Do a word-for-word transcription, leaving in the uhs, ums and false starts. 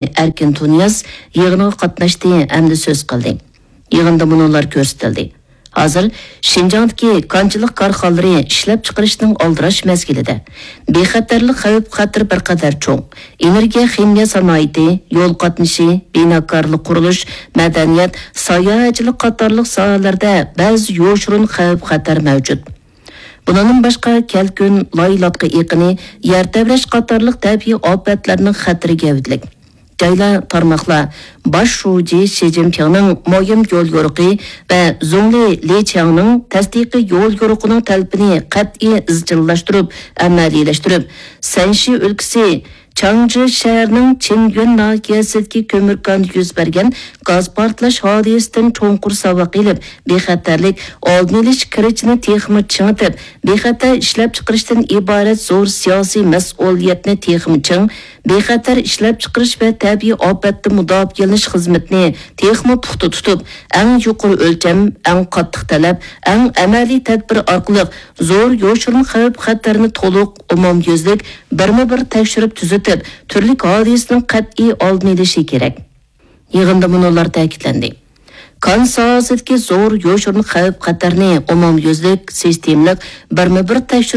ئەركىن تۇنىياز يىغىنغا قاتناشتى ھەمدە سۆز قىلدى. يىغىندا مۇنۇلار كۆرسىتىلدى. ھازىر شىنجاڭدىكى كانچىلىق كارخانىلىرى ئىشلەپچىقىرىشنىڭ ئالدىراش مەزگىلىدە. بىخەتەرلىك خەۋپ-خەتىرى بىر قەدەر چوڭ. ئېنېرگىيە خىمىيە سانائىتى، يول قاتنىشى، بىناكارلىق، قۇرۇلۇش، مەدەنىيەت، ساياھەتچىلىك قاتارلىق ساھەلەردە بەزى يوشۇرۇن خەۋپ-خەتەر مەۋجۇت. بۇنىڭدىن باشقا، كەلكۈن، لاي-لاتقا ئېقىنى، يەر تەۋرەش قاتارلىق تەبىئىي ئاپەتلەرنىڭ خەتىرى گەۋدىلىك. جايلار، تارماقلار باش شۇجى شى جىنپىڭنىڭ مۇھىم يول يورۇقى ۋە زۇڭلى لى چياڭنىڭ تەستىقىي يول يورۇقىنىڭ تەلىپىنى قەتئىي ئىزچىللاشتۇرۇپ ئەمەلىيلەشتۈرۈپ، سەنشى ئۆلكىسى چاڭجى شەھىرىنىڭ چىنيۈەن ناھىيەسىدىكى كۆمۈر كاندا يۈز بەرگەن گاز پارتلاش ھادىسىسىدىن چوڭقۇر ساۋاق ئېلىپ، بىخەتەرلىك ئالدىنى ئېلىش كىرىچىنى تېخىمۇ چىڭىتىپ، بىخەتەر ئىشلەپچىقىرىشتىن ئىبارەت زور سىياسىي مەسئۇلىيەتنى تېخىمۇ چىڭ، بىخەتەر ئىشلەپچىقىرىش ۋە تەبىئىي ئاپەتتىن مۇداپىئەلىنىش خىزمىتىنى تېخىمۇ پۇختا تۇتۇپ، ئەڭ يۇقىرى ئۆلچەم، ئەڭ قاتتىق تەلەپ، ئەڭ ئەمەلىي تەدبىر ئارقىلىق زور يوشۇرۇن خەۋپ-خەتەرنى تولۇق، ئومۇميۈزلۈك، بىرمۇ بىر تەكشۈرۈپ تۈزىتىپ، تۈرلۈك ھادىسىنىڭ قەتئىي ئالدىنى ئېلىشى كېرەك. يىغىندا مۇنۇلار تەكىتلەندى. كان ساھەسىدىكى زور يوشۇرۇن خەۋپ-خەتەرنى ئومۇميۈزلۈك، سىستېمىلىق، بىرمۇ بىر تەكشۈرۈپ